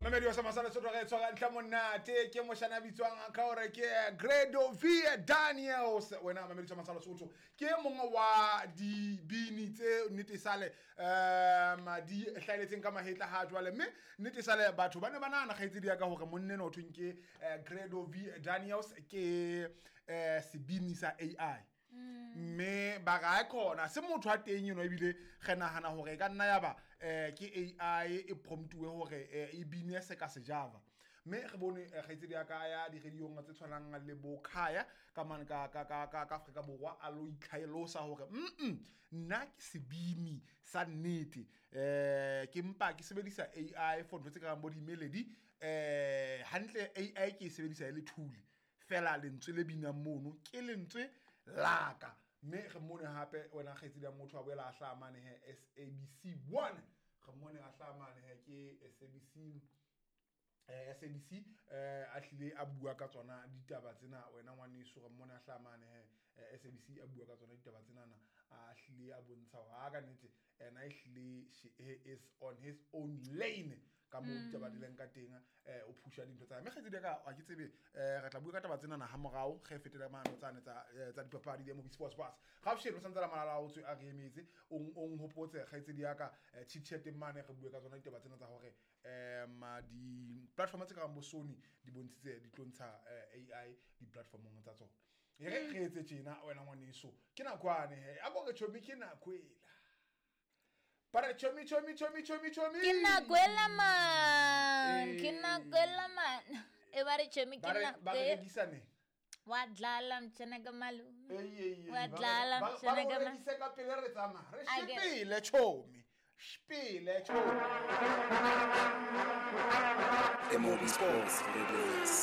Mamedi wa Samasala Sotho, re tshwara ntlha monate ke moshana a bitswang ka hore ke Grado V Daniels. Wena mamedi wa Masala Sotho, ke mongwe wa dibini tse nnete sale di hlaeletseng ka mahetla ha jwale, mme nnete sale batho ba ne ba nahana, kgaitsedi ya ka, hore monneno ho thweng ke Grado V Daniels ke sebini sa AI, mme ba ra khona se motho a teng eno, ebile re nahana hore e ka nna ya ba ke AI e promptuwe hore e bine se ka sejava. Mme re bone kgaitsedi ya ka ya di-radiong tse tshwanang le bo Khaya ka mane ka Afrika Borwa, a lo itlhalosa hore nna ke sebini sa nnete, ke mpa ke sebedisa AI for ntho tse karang bo di-melody. Hantle AI ke e sebedisa e le tool fela, lentswe le binang mono ke lentswe la ka. Mme re mmone hape, wena kgaitsedi ya motho, a boela a hlaha mane he SABC 1, re mmone a hlaha mane he ke SABC, SABC, a hlile a bua ka tsona ditaba tsena. Wena ngwaneso, re mmone a hlaha mane he SABC a bua ka tsona ditaba tsenana, a hlile a bontsha hore ha ka nnete ena e hlile he is on his own lane ka moo ditaba di leng ka teng, o phusha dintho tsa hae. Mme kgaitsedi ya ka, ha ke tsebe, re tla bua ka taba tsenana ha morao ge fetela mano tsane tsa dipapadi, di movie sports sports. Gafshelo o santse la malala a otswe a re emetse, o nhopotse, kgaitsedi ya ka, chit chat mane re bue ka tsona ditaba tsena tsa hore di-platform tse karang bo Sony di bontshitse di tlo ntsha AI di-platformong tsa tsona. E re re etse tjena, wena ngwaneso, ke nako ane he a ko re chomi, ke nako ela ba re chomi chomi chomi chomi chomi. Ke nako ela man, ke nako ela man, e ba re chomi, ke ba re nako ba re e. Rekisaneng. Wa dlala mtshana ka malume. Ei, ei, ei, Wa dlala, ba mtshana re ka rekise ka pele re tsamaya re A ke- shepele chomi, shpele chomi. MOB Sports Radio.